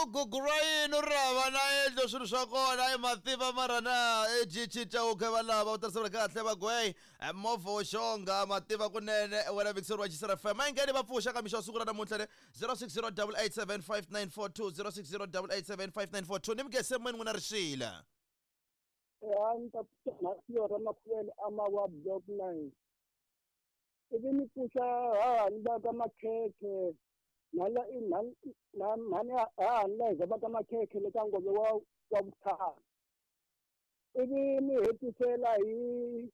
Gugu ra yini ri hava na yindlu swilo swa kona i mativa mara na i GT Chauke va lava u tirhisela kahle va gwey movha wo xonga mativa kunene wena Vixen wa Chisera FM a yi ngheni va pfuxa ka mixo wa siku ra namuntlha le 0608875942 0608875942 ni mi gese moyeni n'wina rixile. Ya ni ta pfuxa mhasiyo ra makhuvele amawa block 9 ivi ni pfuxa hahani va ka makhekhe mhani mhani mhani hahani leza va ka makhekhe le ka ngove wa wa vutlhari ivi ni hetisela hi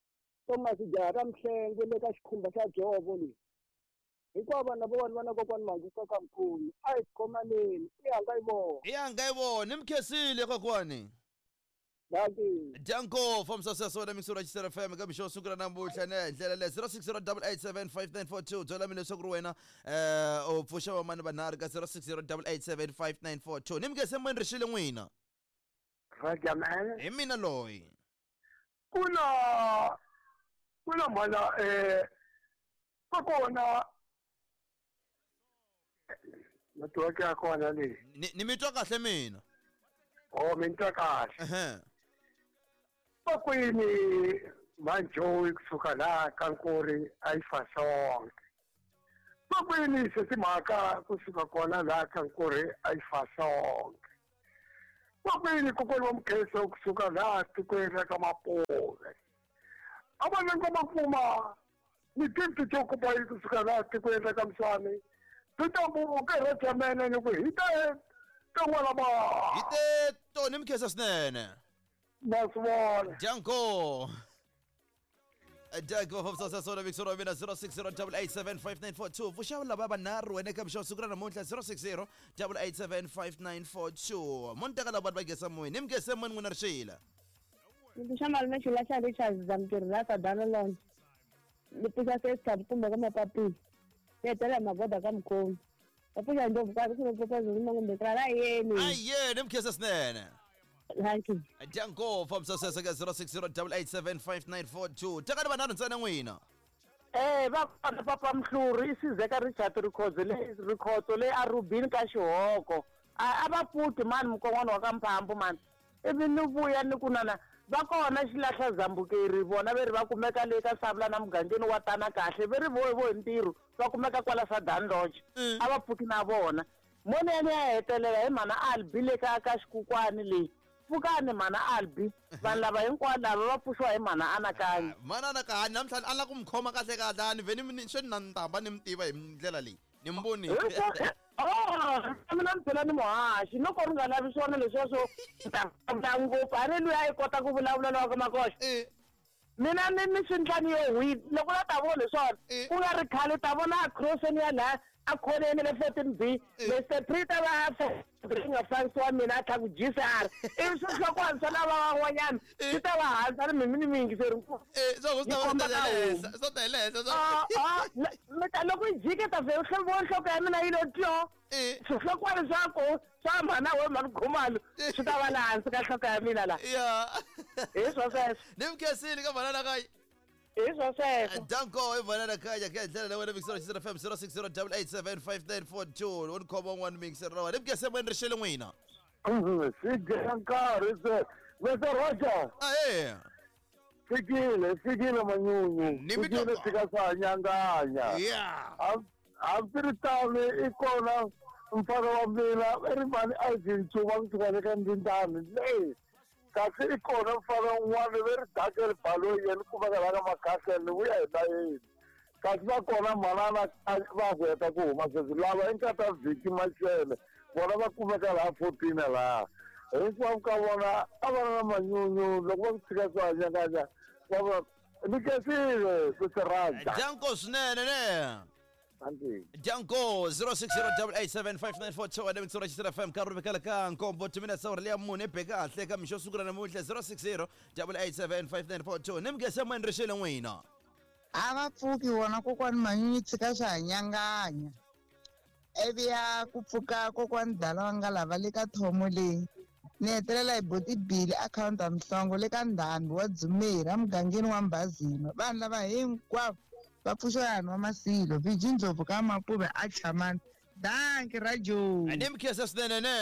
Thomas jaha ra Mhlengwe le ka xikhumba xa dzovo leyi hinkwavo vanhu lava vanhu va na kokwani Manguka ka mkhulu a hi khomaneni i hanga yi vona I hanga yi vona ni mi khensile kokwani. Dankie. Danko fambisa sweswo na mixo ra Chisera FM ka mixo wo sungula namuntlha ne hi ndlela leyi 0608875942 byela mina leswaku ri wena u pfuxa vamani vanharhu ka 0608875942 ni mi nge se moyeni rixile n'wina. Roger man. Hi mina loyi. Kuna kuna mhana kokona network ya kona leyi. Ni mi twa kahle mina. Oh mi twa kahle. Ehe. Kokwini Manjoyi kusuka laha ka Nkori a yi fa sonke. Kokwini Setimhaka kusuka kona laha ka Nkori a yi fa sonke. Kokwini kokwani wa Mkheso kusuka laha tikweni ra ka Mapuve. A va lengo makuma ni gift to kupa kusuka laha tikweni ra ka Mswani. Titambuke ra jamene ni ku hi ta tin'wana ba. Hi te toni Mkheso swinene. Na swi vona. Danko. Danko fambisa sweswo na mixo wa mina 0608875942 pfuxa lava vanharhu wena eka mixo wa siku ra namuntlha 0608875942 mo ni teka lava vanhu va gesa moyeni ni mi gese moyeni n'wina rixila. Ni pfuxa malume Xilahla Richards Zamtirhi la Sadana Lodge. Ni pfuxa Sesta Mkumba ka Mapapila. Ni hetelela hi magoda ka Mukhomi. Va pfuxa ndlopfu ka ku pfuxa Zulu kumbe ka la yeni. A yeni mi khensa swinene. Thank you. Danko fambisa sweswo ka 0608875942 tekani vanharhu ntsena n'wina. Va kona papa Mhluri i Sizeka Richard Rikhotso le Rikhotso le a Rubini ka Xihoko. A va pfuki mani mukon'wana wa ka Mphambu mani. Ivi ni vuya ni ku nana va kona Xilahla Zambukeri vona ve ri va kumeka le ka Savula na mugangeni wa Tana kahle ve ri vo vo hi ntirho va kumeka kwala Sadan Lodge. A va pfuki na vona. Moni ya ni ya hetelela hi mhana Albi le ka ka Xikukwani leyi. Pfukani mhana Albi vanhu lava hinkwavo lava va pfuxiwa hi mhana Anakanya. Mhana Anakanya namuntlha a la ku mi khoma kahle kahle a ni vhe ni swe ni na ntamba ni mi tiva hi ndlela leyi ni mi vonile. Oh, mina ni phela ni muhaxi loko ri nga lavi swona leswiya swo ta vulavula ngopfu a ni luya a yi kota ku vulavula lowa ka makoxa. Mina ni ni swi ndlani yo hwi loko la ta vona leswiwani ku nga ri khale ta vona a crosseni ya laha a khoneni le 14B Mr Prita va ri nga fambisi wa mina a tlha ku GCR ivi swihlokwana swa lava van'wanyana swi ta va hansi a ri mimi ni miyingiseri mi ta loko yi jike ta vhe vo nhloko ya mina yi lo tyo swihlokwana swa ko swa mhana we mhani Khumalo swi ta va laha hansi ka nhloko ya mina laha hi swo sweswo ni mi khensile ka mhana Anakanya. Hi swo sweswo. Danko i mhana Anakanya ka ndlela leyi wena mixero Chisera FM 0608875942 u ni khoma un'wana mixero ra wena ni mi khensile moyeni rixile n'wina. Swi dya nkarhi se Mr Roger. Ahee. Fikile, fikile manyunyu. Ni mi Fikile fika swa nyanganya. Yeah. Hambiswiritano i kona mfana wa mina i ri mhani Ivan Ncuva kusuka le ka Ndindani leyi kasi i kona mfana un'wana ve ri Daniel Baloyi yena kumeka la ka Makhahla ni vuya hi layeni kasi va kona mhanana va ku heta ku huma sweswi lava i nkata Vhiki Mashele vona va kumeka laha 14 laha hinkwavo ka vona a va na manyunyu loko va ku tshika swa nyanganya va va ni khensile ku swi rhandza. Danko swinene ne. Danko 0608875942 wena mixo ra Chisela FM ka rhumekela ka nkombo timinetse awara leya mune be kahle ka mixo siku ra namuntlha 0608875942 ni mi gese moyeni rixile n'wina. A va pfuki vona kokwani Manyunyu tshika swa ha nyanganya ivi ya ku pfuka kokwani dala wa nga lava le ka thomo leyi ni hetelela hi boti Billy akhawunti Mhlongo le ka Ndhambi wa Dzumeri emugangeni wa Mbazima vanhu lava hinkwavo va pfuxiwa hi wa Masilo Viji Ndlopfu ka Mapuve a Chamani. Danki Rajo. Ni mi khensa swinene ne.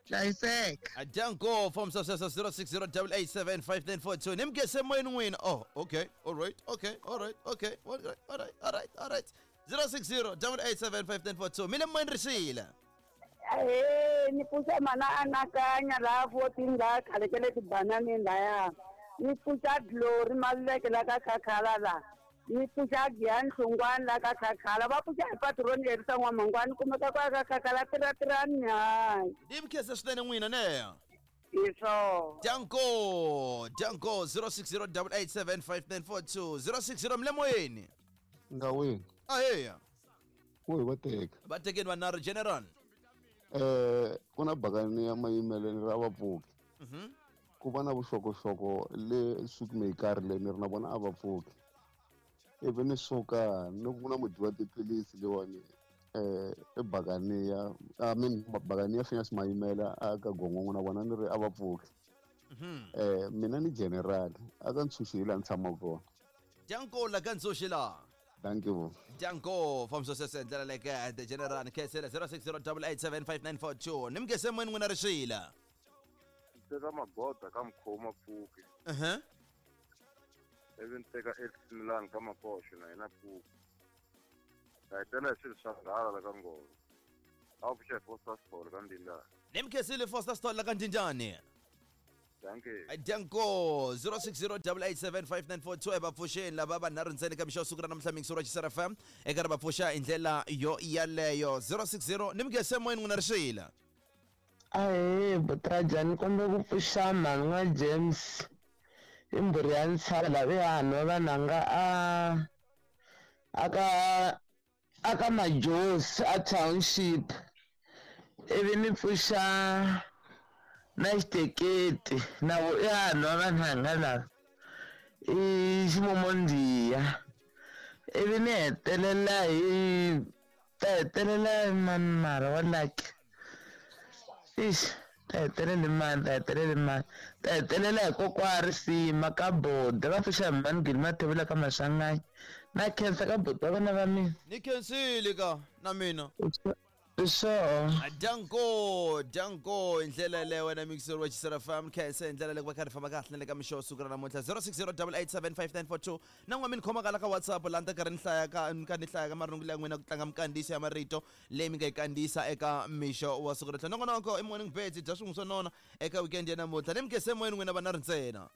Hlayiseka. Danko from 060 887 5942. Ni mi khense moyeni n'wina. Oh, okay. All right. Okay. All right. Okay. All right. All right. All right. All right. 060 887 5942. Mi le moyeni rixile. Ahee, ni pfuxa mana anakanya laha 14 laha khale ka le tibananeni laya. Ni pfuxa Glory Maluleke la ka Khakhala la. Ni pfuxa Giyani Hlungwani la ka Khakhala. Va pfuxa hi patroni leri sa N'wamangwani kumeka kwa ka Khakhala tiratirani hayi. Ni mi khensa swinene n'wina ne. Hi swona. Danko, Danko 060 887 5942 060 mi le moyeni. Ngawini. Aheya. Ku hi va teka. Va tekeni vanharhu general. Ku na bakani ya mayimelelo ra vapfuki. Ku va na vuxokoxoko le Sweetmaker le ni ri na vona a va pfuki. Ivi ni suka ni ku na mudyi wa tiphilisi leyiwani i bakani ya, I mean bakani ya Phineas Mayimela a ka gongongo na vona ni ri a va pfuki. Mina ni general a ka ntshunxi hi laha ni tshamaka kona. Danko la ka ntshunxi la. Thank you. Danko from Sosese ndlela leke the general khensela 060 887 5942. Ni mi khense moyeni n'wina rixile. Teka magoda ka mkhoma pfuki. Ivi ni teka Milan ka makoxo na yena pfuki. Ta hetelela hi swilo swa nghala la ka ngolo. A wu pfuxa hi Foster Store ka Ndindani. Ni mi khensile Foster Store la ka Ndindani. Dankie. Danko 060 887 5942 va pfuxeni lava vanharhu ntsena ka mixo wa siku ra namuntlha mixo ra Xisera FM eka ri va pfuxa hi ndlela yo yaleyo 060 ni mi khense moyeni n'wina rixile. Ahee, Butraja, ni kombe ku pfuxa mhani n'wa James i mbhuri ya ntshava laha hanhu vananga a aka Majosi a township ivi ni pfuxa na xiteketi na vo i hanhu va vanhanga lava i ximomondiya ivi ni hetelela hi ta hetelela mani mara wa lucky ix ta hetelela mani ta hetelela mani ta hetelela hi kokwa risima ka boda va pfuxa hi mani gini mathevula ka maswanganyi na khensa ka boda wa vana va mina. Ni khensile ka na mina. Sure. Danko, Danko hi ndlela yaleyo wena mixer wa Xisera FM khensa hi ndlela leyi va kha ri famba kahle na le ka mixo wa siku ra namuntlha 060 887 5942 na n'wa mi ni khomaka la ka WhatsApp laha ni ta karhi ni hlaya ka ni ka ni hlaya ka marungulo ya n'wina ku tlanga mikandziyiso ya marito leyi mi nga yi kandziyisa eka mixo wa siku ra namuntlha. Nongonoko i Morning Birds dya swin'we swo nona eka weekend ya namuntlha ni mi khense moyeni n'wina vanharhu ntsena.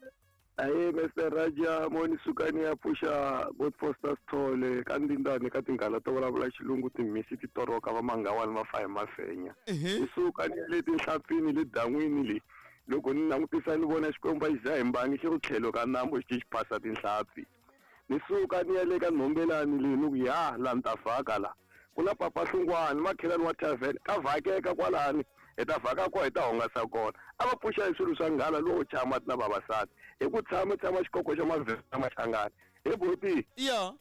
Ahe Mr Raja moni sukani ya pfuxa God Foster Sithole ka Ndindani ka tinghala to vulavula xilungu timhisi ti toroka va mangawani va fa hi mafenya. Hi suka ni le tinhlampfini le dan'wini le loko ni langutisa ni vona xikwembu va xi dya hi mbangi xi ri tlhelo ka nambu xi xi phasa tinhlampfi. Ni suka ni ya le ka nhombelani le ni ku ya laha ni ta vhaka la ku na papa Hlungwani makhelwani wa tavern ka vhakeka kwalani hi ta vhaka kona hi ta hungasa kona. A va pfuxa hi swilo swa nghala lowo chaya mati na vavasati hi ku tshama tshama xikoko xa mavhela machangani hi buti. Ya.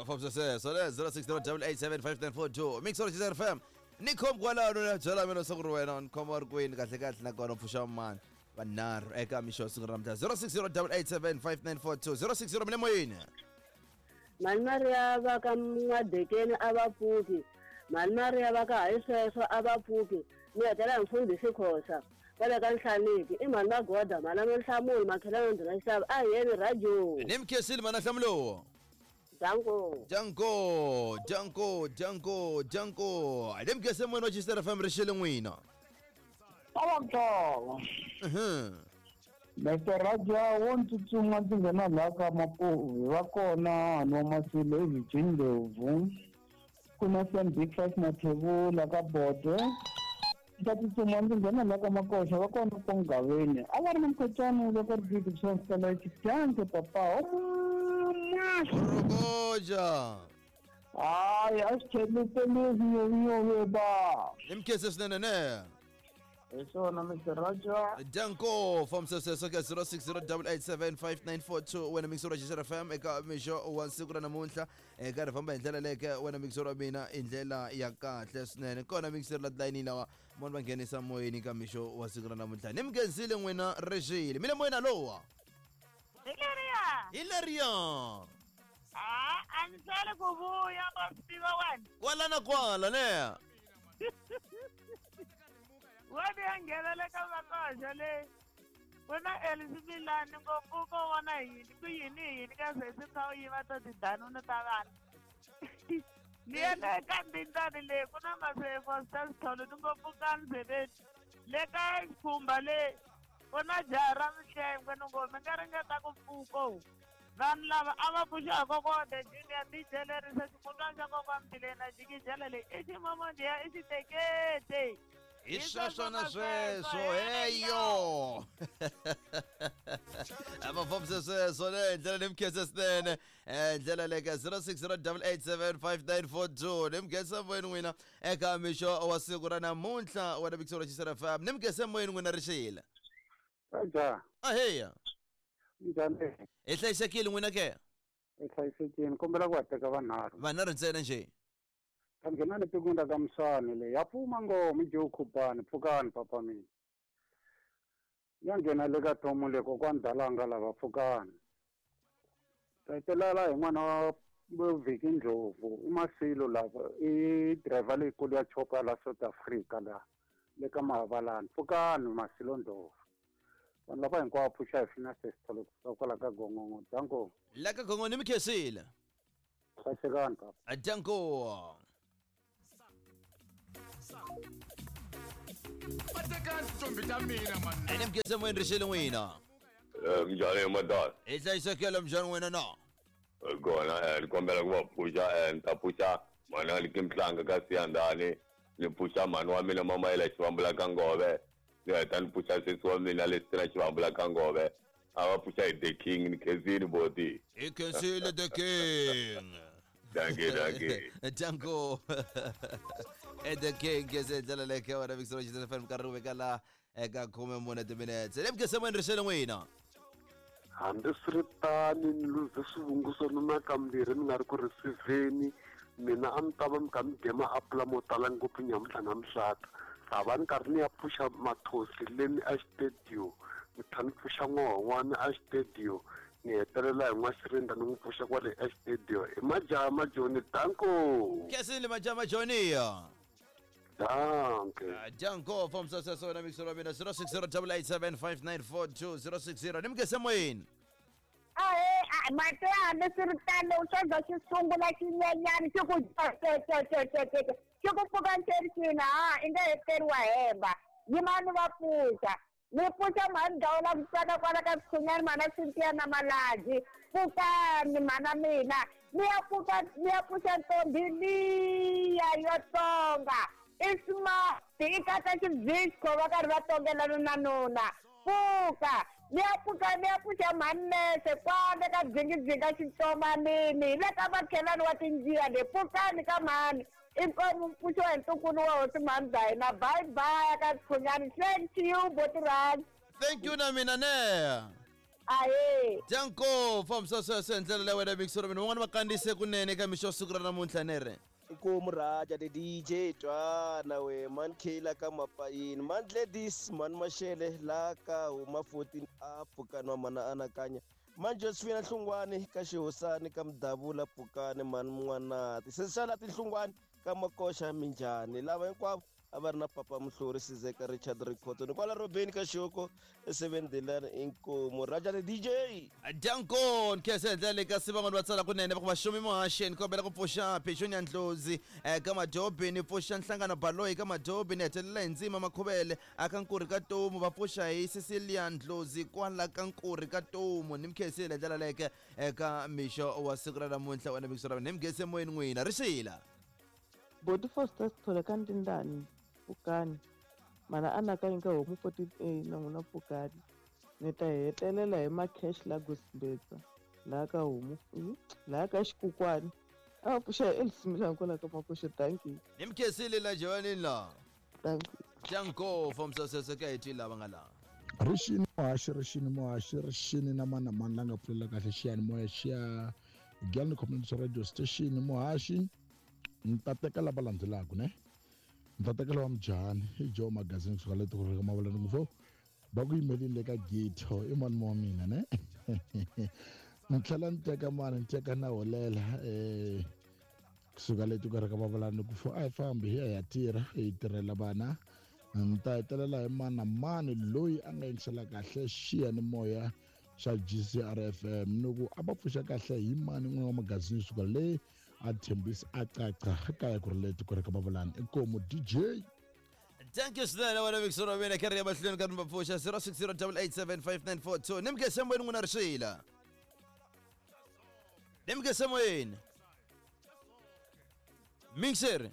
Fambisa sweswo le 060 887 5942 Mixer Xisera FM ni khomi kwalano na byela mina leswaku ri wena ni khoma ri kwini kahle kahle nakona pfuxa mani vanharhu eka mixo wa siku ra namuntlha 060 887 5942 060 mi le moyeni. Mhani Mariya va ka N'wadekeni a va pfuki. Mhani Mariya va ka hayi sweswo a va pfuki. Ni hetelela hi mfundhisi Khosa kwale ka Nhlaniki i mhani Magoda mhani Nhlamulo makhelwani ndhuna xitava a hi yeni radio. Ni mi khensile mhani Nhlamulo. Danko. Danko, Danko, Danko, Danko. Ni mi khense moyeni wa Xisera FM rixile n'wina. Avantola. Mr Raja wo tsutsuma ndzi nghena laha ka Mapuve va kona hanwa Masilo i Virgin Ndlovu ku na Sam Big Five Mathebula ka Bodo ta tsutsuma ndzi nghena laha ka Makoxa va kona Pongaveni a va ri na mukhotswana loko ri big swa xidyange papa Rogoja. Hayi a swi tlheliseliwi nyovnyove ba. Ni mi khense swinene ne. Hi swona Mr Raja. Danko from sweswo ka 060 887 5942 wena mixer wa Xisera FM eka mixo wa siku ra namuntlha eka ri famba hi ndlela leke wena mixer wa mina hi ndlela ya kahle swinene kona mixer la tilayini lawa moni va nghenisa moyeni ka mixo wa siku ra namuntlha ni mi khensile n'wina rixile mi le moyeni alowa. Hi leriya. Hi leriya. A a ni hlweli ku vuya ma swi tiva wena. Kwala na kwala ne. Wena ya nghenele ka vakoxa leyi. Ku na Elsie Milani ngopfu ko vona yini ku yini yini ka sesi kha u yiva to tidanunu ta vanhu. Ni ya le ka mbindzani leyi ku na masefo swa sitholo ni ngopfu ka ndzebeni. Le ka xikhumba leyi ku na jaha ra mihlengwe ni ngo mi nga ringeta ku pfuka. Vanhu lava a va pfuxa kokwana the junior DJ lerisa ximutwana xa kokwana Mbilena jikijela leyi i ximomondiya i xitekete. Hi sweswo na sweswo heyo a va fambise sweswo le hi ndlela ni mi khensa swinene um ndlela le ka 0608875942 ni mi khensa moyeni n'wina eka mixo wa siku ra namuntlha wa na ra Xisera FM ni mi khensa moyeni n'wina rixile Raja. Aheya. Njhani? Hi hlayisekile n'wina ke? Hi hlayisekile. Kombela ku va teka vanharhu. Vanharhu ntsena nje. Ta nghena le tikweni ra ka Mswani le. Ya pfuma ngoma i Joe Khubani, pfukani papa mina. Ya nghena le ka Thomo le kokwani Dalanga lava pfukani. Ta hetelela hi n'wana wa Vhiki Ndlovu i Masilo lava i driver leyikulu ya chopa la South Africa la le ka Mahavalani. Pfukani Masilo Ndlovu. Vanhu lava hinkwavo pfuxa hi fina sesitholo kusuka kwala ka Gongongo. Danko. La ka Gongongo ni mi khensile. Hlayisekani papa. Danko. Vatekani tintombi ta mina mani. Ene mi khensa moyeni rixile n'wina. Minjhani madala? Hi hlayisekile minjhani n'wina na? Kona ni kombela ku va pfuxa ni ta pfuxa mhani wa le Mhlanga ka Siyandhani ni pfuxa mhani wa mina Mamayela Xivambula ka Ngove ni heta ni pfuxa sesi wa mina Lestina Xivambula ka Ngove a va pfuxa hi The King ni khensile boti. Hi khensile The King. Dankie, dankie. Danko. E The King ke se ndlela leyi ka wena Mixer Xisera FM nkarhi wu veka la eka 14 timinetse. Le mi khensa moyeni rixile n'wina. Hambiswiritano ni luze swivungu swa nuna kambirhi ni nga ri ku receiveni mina a mi ta va mi kha mi dye maapula mo tala ngopfu nyamuntlha na mihlata ha va ni karhi ni ya pfuxa mathosi leni a xitediyo ni tlhela ni pfuxa n'wahon'wana a xitediyo ni hetelela hi n'waxirinda ni n'wi pfuxa kwale a xitediyo i majaha majoni danko Khensile majaha majoni. Danke. Danko from sweswo na mixer wa mina 0608875942 060 ni mi khensa moyeni. Ahe, mati ya hambiswiritano swo za xi sungula xinyenyani xi ku cecececece xi ku pfuka ncerisini ha i nge heteriwa hemba yimani va pfuxa ni pfuxa mhani dawula ku tsaka kwala ka Sikhunyani mhana Cynthia na Malaji pfukani mhana mina ni ya pfuka ni ya pfuxa ntombi liya yo tonga i smart i katsa xivisco va karhi va tongelana na nuna pfuka ni ya pfuka ni ya pfuxa mhani-nese kwale ka dzingidzinga xitsomanini hi le ka makhelwani wa tinjiya le pfukani ka mhani inkomu mpfuxo hi ntukulu wa hosi mhani bya hina bye bye ka Sikhunyani thank you botirani. Thank you na mina ne. Ahe. Danko fambisa sweswo hi ndlela leyi wena Mixer mina van'wana va kandziyise kunene eka mixo wa siku ra namuntlha ne ri. Inkomu Raja the DJ twana we man Kayla ka Mapayini man Gladys man Mashele la ka huma 14 a pfukani wa mana anakanya man Josephine Hlungwani ka Xihosani ka Mdavula pfukani man N'wanati sesala tinhlungwani ka Makoxa minjhani lava hinkwavo a va ri na papa Muhluri Sizeka Richard Rikhotso ni kwala Robeni ka Xihoko e7 Dilan inkomu Raja the DJ. Danko nkhensa hi ndlela leyi kasi van'wani va tsala kunene va ku vaxumi muhaxi ni kombela ku pfuxa Petunia Ndlozi ka Madobi ni pfuxa Nhlangano Baloyi ka Madobi ni hetelela hi Ndzima Makhuvele aka Nkurhi ka Tomu va pfuxa hi Cecilia Ndlozi kwala ka Nkurhi ka Tomu ni mi khensile hi ndlela leke eka mixo wa siku ra namuntlha wena mixo ra ni mi khense moyeni n'wina rixila. Boti Foster Sithole ka Ntindani pfukani mana anakanya ka homu 14A na n'wina pfukani ni ta hetelela hi ma-cash la Gosibetsa laha ka homu laha ka xikukwani a va pfuxa hi Elsie kwala ka Makoxe thank you. Ni mi khensile la Johanini la. Thank you. Danko fambisa sweswo ka hi twi lava nga laha. Rixini muhaxi rixini muhaxi rixini na mani na mani la nga pfulela kahle xiyanimoya xiya Giyani Community Radio Station muhaxi ni ta teka lava landzelaka ne ni ta teka lava mujahani i Joe Magazine kusuka le tikweni ra ka Mavalani ngopfu va ku yimelini le ka ghetto i mani wa mina ne Ni tlhela ni teka mani ni teka na holela kusuka le tikweni ra ka Mavalani ku a hi fambi hi ya hi ya tirha hi tirhela vana. Ni ta hetelela hi mani na mani loyi a nga yingisela kahle xiyanimoya xa GCR FM ni ku a va pfuxa kahle hi mani n'wina wa magazini suka le a tshembisa a caca kaya ku ri le tikweni ra ka Mavalani inkomu DJ. Thank you swinene wena Mixer wa mina karhi ya mahlweni ka ri pfuxa 0608875942 ni mukese moyeni n'wina rixila ni mukese moyeni Mixer.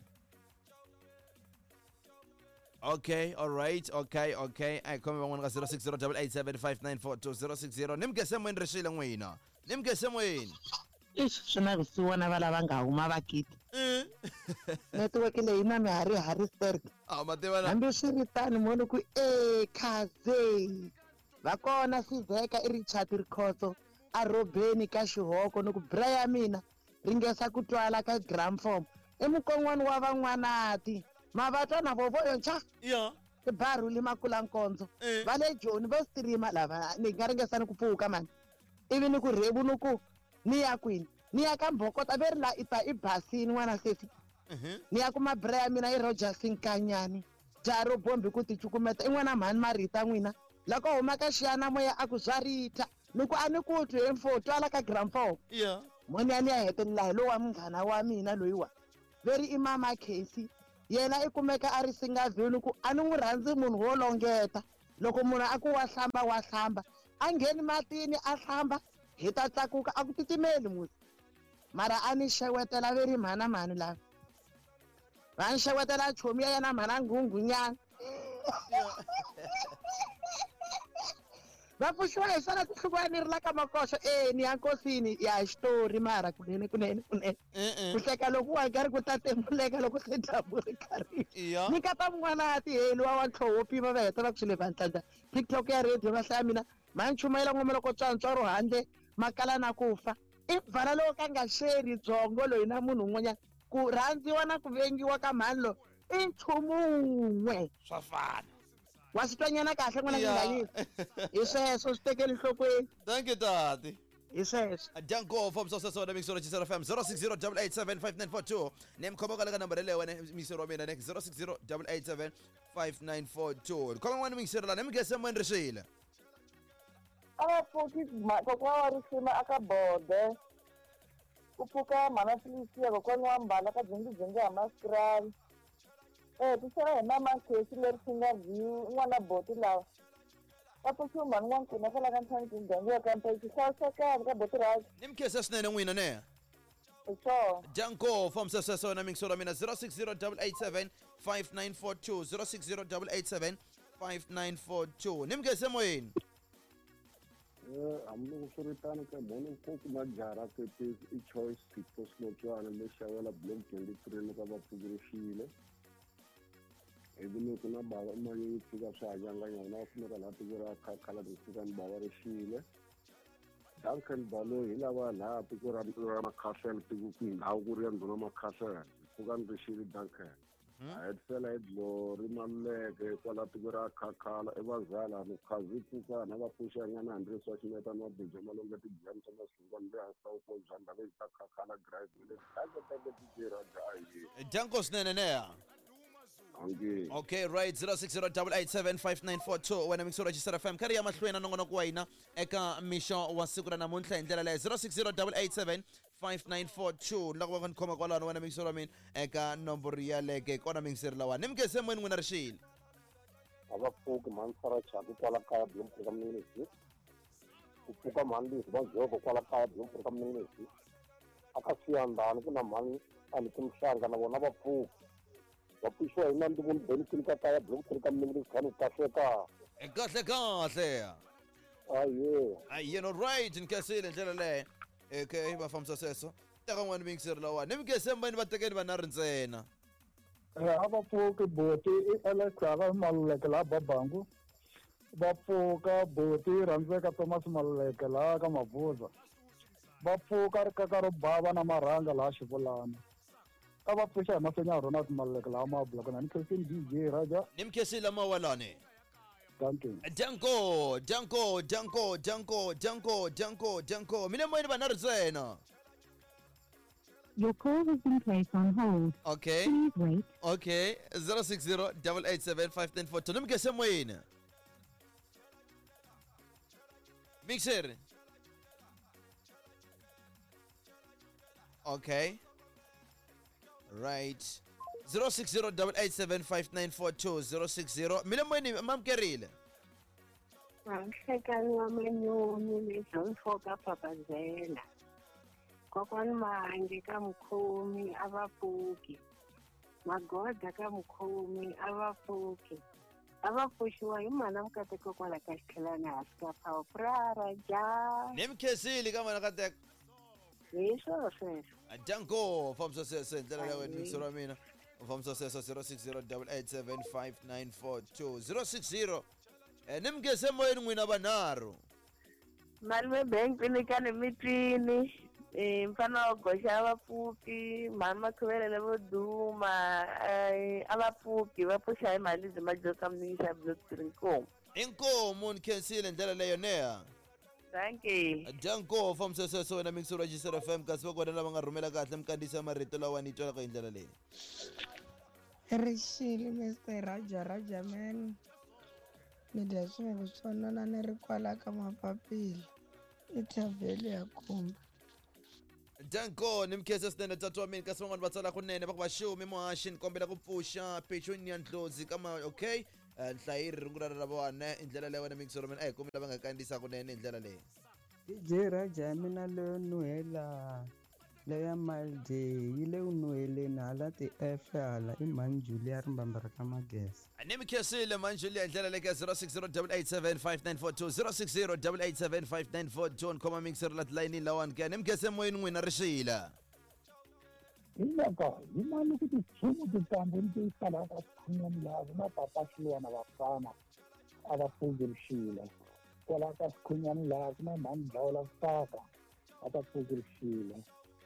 Okay, all right, okay, okay. A hi khome van'wana ka 0608875942 060 ni mukese moyeni rixila n'wina ni mukese moyeni. Ixi swi na vusiwana va lava nga huma vakiti. Netiweke leyi na mihari Harrisburg. A ma tiva na. Hambi swi ri tano mo ni ku e khaze. Va kona Sizeka i Richard Rikhotso a rhobeni ka xihoko ni ku bra ya mina ringesa ku twala ka gramform. I mukon'wana wa van'wanati. Mavatwa na vovoyo ncha. Ya. I barhuli makula nkondzo. Va le Joni vo streamer lava ni nga ringesa ni ku pfuka mani. Ivi ni ku rhevu ni ku ni ya kwini? Ni ya ka Mbhokota ve ri la i ta i basini n'wana sesi. Ni ya kuma bra ya mina i Rogers Nkanyani. Jaha ro bombi ku ti cukumeta i n'wana mhani Marita n'wina. Loko huma ka xiyanamoya a ku swa rita. Ni ku a ni ku twi he mfo twala ka gramform. Ya. Moni ya ni ya hetelela hi lowa munghana wa mina loyiwa. Ve ri i mama Casey. Yena i kumeka a ri Singaville ku a ni n'wi rhandzi munhu wo longeta. Loko munhu a ku wa hlamba wa hlamba. A ngheni matini a hlamba hi ta tlakuka a ku titimeli musi. Mara a ni xewetela ve ri mhana mhani lava. Va ni xewetela chomi ya yena mhana Nghunghunyana. Va pfuxiwa hi swona tinhloko ni ri la ka makoxo e ni ya nkosini ya xitori mara kunene kunene kunene. Ku hleka loko wa karhi ku ta temuleka loko se dyambu ri karhi. Ni kata mun'wana a ti heli wa ntlhoho wo pima va heta va ku swi le vantlanda. TikTok ya radio va hlaya mina ma nchumayela ngoma loko tswantswaro handle makala na ku fa. I bvala loko ka nga xeri byongo loyi na munhu un'wanyana ku rhandziwa na ku vengiwa ka mhani loyi i nchumu wun'we. Swa fana. Wa swi twanyana kahle n'wana Nginganyisa. Hi sweswo swi tekeli nhlokweni. Thank you tati. Hi sweswo. Danko from Sosa Soda Mixer Chisera FM 0608875942 ni mkhoma kwale ka nambara leyo wena mixer wa mina next 0608875942 khoma n'wana mixer la ni mugese moyeni rixile. A va pfuki kokwa wa risima aka bode. Ku pfuka mhana Felicia kokwani wa mbala ka dzongi dzongi ha maskrali. Tisela hi mama Casey leri singa view n'wana boti lawa. Va pfuxiwa mhani n'wankuna kwala ka ntlhanu muganga wa ka Mpeke hlayisekani ka boti ra. Ni mukhensa swinene n'wina ne. Hi swona. Danko from Sesesona na mixer wa mina 0608875942 0608875942 ni mukhensa moyeni. Hambiloko swi ri tano ka mhani ko kuma jara kepisi i choice people Sinotswana le xavela block 23 loko va pfukerixile. Ivi ni ku na bava mali yi fika swa hanyanganyana na kumeka laha tiko ra khakhala ku fika ni bava rixile. Duncan Baloyi hi lava laha tiko ra Makhasela tiko ku ndhawu ku ri ya ndhuna Makhasela pfuka ni rixile Duncan. A hetisela hi Glory Maluleke kwala tiko ra Khakhala i vazala ni khazi pfuka na va pfuxa nyana handle swa xineta na bija malonga ti-jam ta masungwana le hansi ka vukosi bya ndhawu ta Khakhala drive le tanke tanke DJ Raja a hi. Danko swinene ne. Okay. Okay, right 0608875942 wena mixer wa Chisera FM karhi ya mahlweni na nongonoko wa hina eka mixo wa siku ra namuntlha hi ndlela leyo 0608875942 loko va ni khoma kwalano wena mixer wa mina eka nomboro yaleke kona mixer lawa ni mukhense moyeni n'wina rixile. A va pfuki mhani Sarah Chaku kwala kaya Bloemfontein ka Mninisi. Ku pfuka mhani Liz va Joko kwala kaya Bloemfontein ka Mninisi. A ka Siyandhani ku na mhani Aniki Mhlanga na vona va pfuki. Va pfuxiwa hi Nandzu Vuni Benson ka kaya Bloemfontein ka Mninisi khani kahle ka. Kahle kahle. Aye. Aye, no right nkhensile ndlela leyo. Okay, va fambisa sweswo. Teka n'wana mixer lawa. Ni mukhense moyeni va tekeni vanharhu ntsena. A va pfuki boti i Alex Hava Maluleke laha Babangu. Va pfuka boti rhandzeka Thomas Maluleke laha ka Mavuza. Va pfuka rikaka ro bava na marhanga laha Xivulana. A va pfuxa hi mafenya Ronald Maluleke laha Mabula kona ni khensini DJ Raja. Ni mukhensile mawalani. Dankie. Danko, danko, danko, danko, danko, danko, danko. Mina moyeni vanharhu ntsena. Your call has been placed on hold. Okay. Please wait. Okay. 060 887 5942. Ni mi gese moyeni. Mixer. Okay. Right. 060 887 5942 060. Mina moyeni mamkerile. Nhlekani wa manyunyu lebyo ka papazela kokwani Mahange ka mukhomi a va pfuki Magoda ka mukhomi a va pfuki a va pfuxiwa hi mhana Mukateko kwala ka xitlhelana hansi ka phawu prara ja Ni mi khensile ka mana Kateko. Hi swona sweswo. Danko, fambisa sweswo hi ndlela leyo wena wa mina. Fambisa sweswo 060 887 5942 060. Ni mi ngese moyeni n'wina vanharhu. Malume bank ni mitwini mfana wa goxa a va pfuki mhani Makhuvelele vo duma a va pfuki va pfuxa hi mali byi majoka mningixa block three inkomu. Inkomu ni khensile hi ndlela leyo neha. Dankie. Danko, fambisa sweswo wena mixer wa Gisela FM kasi va kona lava nga rhumela kahle mikandziyiso marito lawa ni twalaka hi ndlela leyi. Rixile Mr Raja Raja man. Ni dya swilo swo nona ni ri kwala ka mapapila i thavheli ya kumba. Danko, ni mikhensa swinene tata wa mina kasi van'wani va tsala kunene va ku va xumi muhaxi ni kombela ku pfuxa Petunia Ndlozi kama okay nhlayiri rungula ra vona hi ndlela leyi wena mixer wa mina a hi kombela va nga kandziyisa kunene hi ndlela leyi. DJ Raja ya mina leyo nuhela leya Malday yi le ku nuheleni hala ti-F hala i mhani Julia rimbambe ra ka Mageza. Ni mi khensile mhani Julia hi ndlela leyi ka 060 887 5942 060 887 5942 ni khoma mixer la tilayinini lawani ke ni mi khense moyeni n'wina rixila. Hi mhaka hi mali ku tichumu tintambu ni ti salaka xikhun'wani laha na papa Xiluwana vafana a va pfuki rixile kwala ka xikhun'wani laha ku na mhani Dlawula Saka a ta pfuki rixile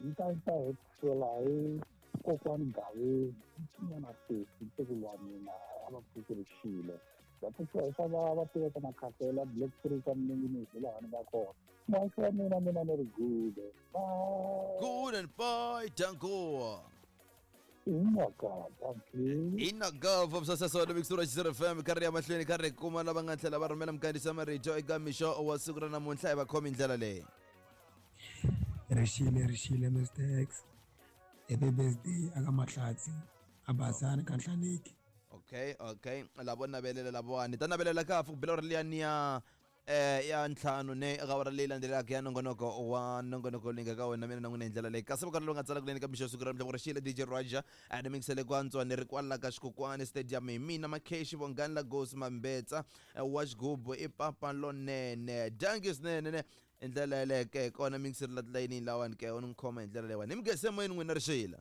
ni ta ta hetisela hi kokwani Gaveni n'wana sesi ntukulu wa mina a va pfuki rixile va pfuxiwa hi swa va va tiveka makhasela block three ka mninginisi laha ni nga kona muhaxi wa mina mina ni ri good bye. Good and bye danko. Inaka dankie. Inaka fambisa sweswo mixer wa Gisela FM karhi ya mahlweni karhi kuma lava nga tlhela va rhumela mikandziyiso marito eka mixo wa siku ra namuntlha hi va khomi hi ndlela leyi. Rixile rixile Mr X. Happy birthday aka Mahlatsi a Basani ka Nhlaneki. Okay, okay. Lavo navelela lavawani ta navelela kahle ku bela uri liyani ya ya ntlhanu ne eka awara leyi landzelaka ya nongonoko wa nongonoko leyi nga ka wena mina na n'wina hi ndlela leyi kasi vokarhi lowu nga tsala kunene ka mixo siku ra namuntlha ku ri xile DJ Raja a ni mingisele ku antswa ni ri kwala ka Xikokwani Stadium hi mina Makheshi Vongani Lagos Mambetsa wa xigubu i papa lonene danki swinene ne hi ndlela yeleyo ke kona mingiseri la tilayinini lawani ke u ni khoma hi ndlela leyiwani ni mi gese moyeni n'wina rixila.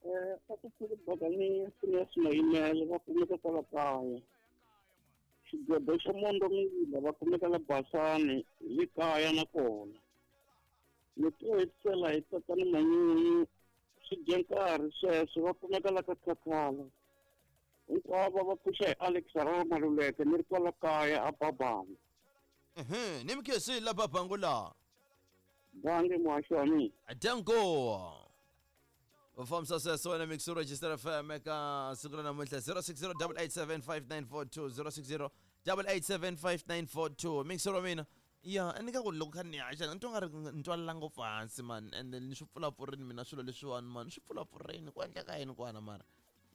A ku pfuli bakani Phineas Mayimele va kumeka kwala kaya xigwedo xa Mondo Mila va kumeka la Basani le kaya nakona ni to hetisela hi tatana Manyunyu swi dya nkarhi sweswo va kumeka la ka Khakhala hinkwavo va pfuxa hi Alex Rara Maluleke ni ri kwala kaya a Babanga. Ni mi khensile la Babangu la. Dange muhaxi wa mina. Danko. Fambisa sweswo wena mixer wa Gisela FM eka siku ra namuntlha 060 887 5942 060 887 5942 mixer wa mina ya ni ka ku loko kha ni haxa ni twa nga ri ni twalela ngopfu hansi man and ni swi pfulapfurini mina swilo leswiwani man swi pfulapfurini ku endleka yini kwana mara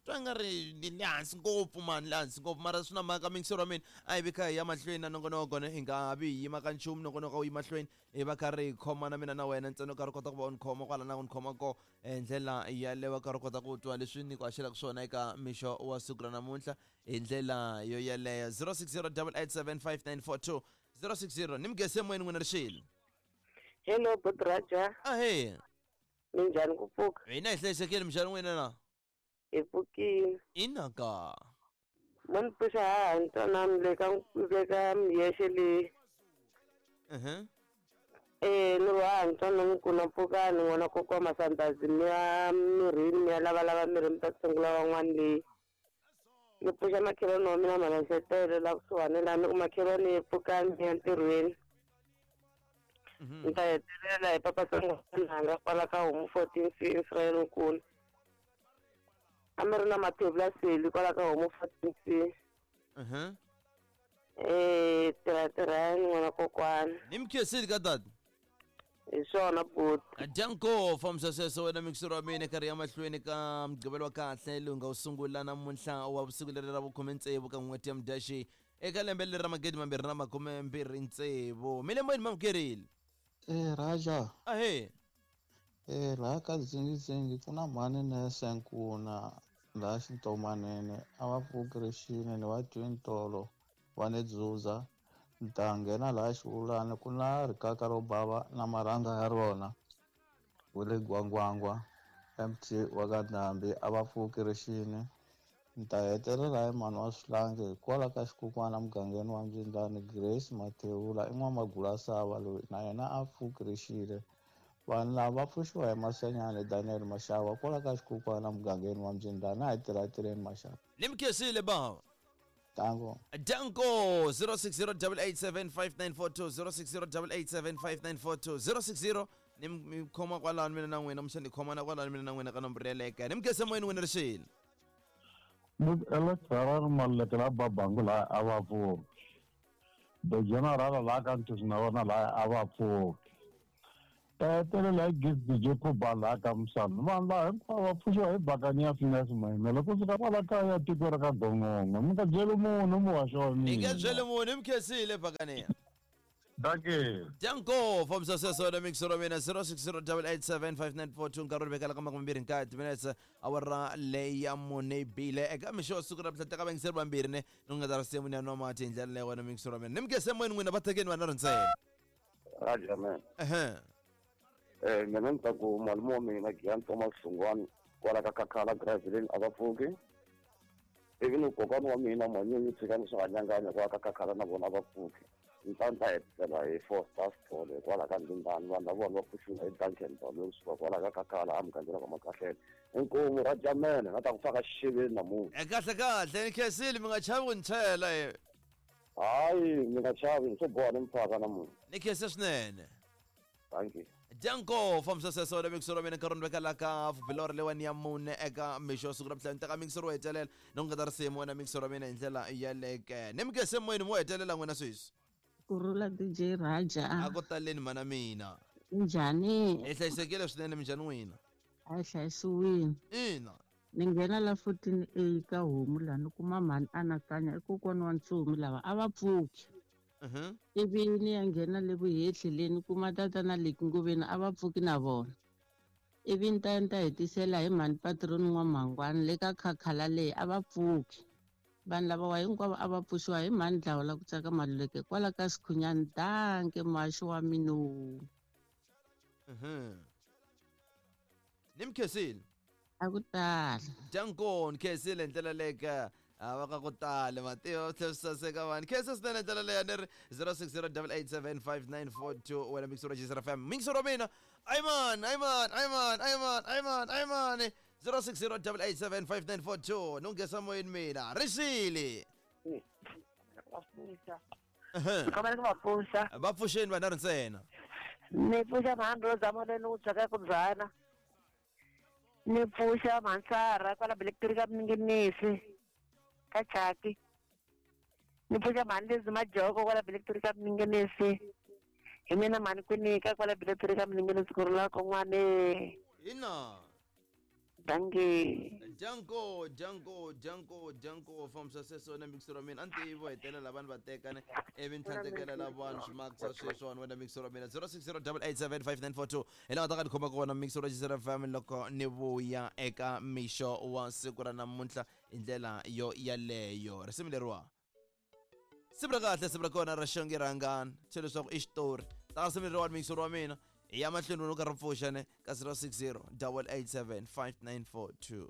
twa nga ri ni le hansi ngopfu man le hansi ngopfu mara swi na mhaka mixer wa mina a hi vi kha hi ya mahlweni na nongonoko ne hi nga vi hi yima ka nchumu nongonoko wu yi mahlweni hi va karhi hi khoma na mina na wena ntsena u karhi u kota ku va u ni khoma kwala na ku ni khoma ko hi ndlela yaleyo karhi u kota ku twa leswi ni ku haxelaka swona eka mixo wa siku ra namuntlha hi ndlela yo yeleyo 060 887 5942 060 ni mi gese moyeni n'wina rixile. Hello Bot Raja. Ahee. Minjhani ku pfuka? Hina hi hlayisekile minjhani n'wina na? Hi pfukile. Inaka. Mo ni pfuxa haha ni twanani le ka le ka miyexe leyi. Ni ri haha ni twanani ku na pfukani n'wana kokwa Masandazi mi ya mirhini mi ya lavalava mirhi mi ta tshungula van'wani leyi. Ni pfuxa makhelwani wa mina Malansetele la kusuhani la ni ku makhelwani yi pfukani ni ya ntirhweni. Ni ta hetelela hi papa Tsongwananga kwala ka homu 14 C Israel nkulu. A mi ri na mathebula seli kwala ka homu 14 C. Eh, tirha tirhani n'wana kokwana. Ni mi khensile ka tata. Hi swona buti. Danko fambisa sweswo wena mixero wa mina karhi ya mahlweni ka mugqivelo wa kahle lowu nga wu sungula namuntlha wa vusiku leri ra vukhume tsevu ka n'hweti ya mudyaxi eka lembe leri ra 2026 milembo yini mamukerile. Eh Raja, ahe. Eh laha ka Dzingidzingi ku na mhani nese nkuna laha xintomanene a va pfuki rixini ni va twi ntolo va ni dzuza ni ta nghena laha xivulani ku na rikaka ro bava na marhanga ya rona wu le gwangwangwa MT wa ka Ndhambi a va pfuki rixini ni ta hetelela hi mhani wa swihlangi hikwalaho ka xikukwana mugangeni wa Mbyindlani Grace Mathewula i n'wamagulasava loyi na yena a pfuki rixile vanhu lava va pfuxiwa hi Masenyani Daniel Mashava kwala ka xikukwana mugangeni wa Mbyindlani a hi tirhatirheni Mashava. Ni mi khensile bava. Tango. Danko 0608875942 0608875942 060 ni mi khoma kwalano mina na n'wina muxa ni khomana kwalano mina na n'wina ka nomboro yeleke ni mi khense moyeni n'wina rixile. Alex Maluleke la Babangu la a va pfuki. The General la ka Ntusi na vona la a va pfuki. Hetelela hi Gift DJ Khuba laha ka Musana. Vanhu lava hinkwavo va pfuxiwa hi bakani ya Finesse Mayimele kusuka kwala kaya tiko ra ka Gongongo. Mi nga byeli munhu muhaxi wa Ni nge mina. byeli munhu mi khensile bakaniya. Dankie. Danko fambisa sweswo wena mixero wa mina 0608875942 nkarhi wu vekela ka 29 minutes awara leyi ya mune yi bile eka mixo wa siku ra mhla teka vayingiseri vambirhi ne ni nga ta risimu ni ya nwa mati hi ndlela leyo wena mixero wa mina ni mi khense moyeni n'wina va tekeni vanharhu ntsena. Raja man. Ehe. Eh mina ni ta ku malume wa mina Giyani Thomas Hlungwani kwala ka Khakhala Graveleni a va pfuki. Ivi ni kokwana wa mina Manyunyu Tshikani Swihanyanganya kwala ka Khakhala na vona a va pfuki. Ni ta ni ta hetisela hi Four Stars Thole kwala ka Ndindani vanhu lava vona va pfuxiwa hi Duncan Baloyi kusuka kwala ka Khakhala emugangeni wa ka Makahlele. Inkomu Raja man na ta ku faka xixeveni namuntlha. Kahle kahle ni khensile mi nga chavi ku ni chela e. Hayi mi nga chavi swo boha ni mi faka namuntlha. Ni khense swinene. Thank you. Danko fambisa sweswo wena mixero wa mina nkarhi ni vekela ka bilori leyiwani ya mune eka mixo wa siku ra mhla ni teka mixero wo hetelela ni ku nga ta risimu wena mixero wa mina hi ndlela yaleke ni mi khense moyeni mo hetelela n'wina sweswi. Kurhula DJ Raja. A ku taleni mana mina. Njhani? Hi hlayisekile swinene minjhani n'wina? A hi hlayisiwile. Ina. Ni nghena la 14A ka homu laha ni kuma mhani anakanya i kokwana wa ntsumi lava a va pfuki. Ivi ni ya nghena le vuhehli le ni kuma tatana leki ngoveni a va pfuki na vona. Ivi ni ta ya ni ta hetisela hi mhani patroni n'wamhangwani le ka khakhala leyi a va pfuki. Vanhu lavawa hinkwavo a va pfuxiwa hi mhani dlawa la ku tsaka Maluleke kwala ka Sikhunyani danke muhaxi wa mina. Ni mi khensile. A ku tala. Danko ni khensile hi ndlela leyi ka va ka ku tala mativa va tlhela swi saseka vanhu khensa swinene ndlela leyi ni ri 0608875942 wena mixero wa Jisra FM mixero wa mina ayman ayman ayman ayman ayman ayman 0608875942 ni ku nghesa moyeni mina rixile. Kombela ku va pfuxa. Va pfuxeni vanharhu ntsena. Ni pfuxa mhani Rosa Molweni wu tshwaka ku byana. Ni pfuxa mhani Sara kwala Blacktree ka Minginisi ka Chaki. Ni pfuxa mhani Lizzy Majoko kwala Blacktree ka Minginisi. Hi mina mhani Kwinika kwala Blacktree ka Minginisi ku rhula kon'wane. Ina. Dankie. Danko danko danko danko fambisa sweswo na mixero wa mina a ni tivi vo hetelela vanhu va teka ne ivi ni tlhandlekela la vanhu swimakisa sweswiwani wena mixero wa mina 0608875942 hi laha nga ta ka ni khoma kona mixero wa Jisra FM loko ni vuya eka mixo wa siku ra namuntlha hi ndlela yo yaleyo risimu leriwa siku ra kahle siku ra kona ra xonge rhangani tshe leswaku i xitori ta risimu leriwani mixero wa mina hi ya mahlweni wena u karhi pfuxa ne ka 0608875942.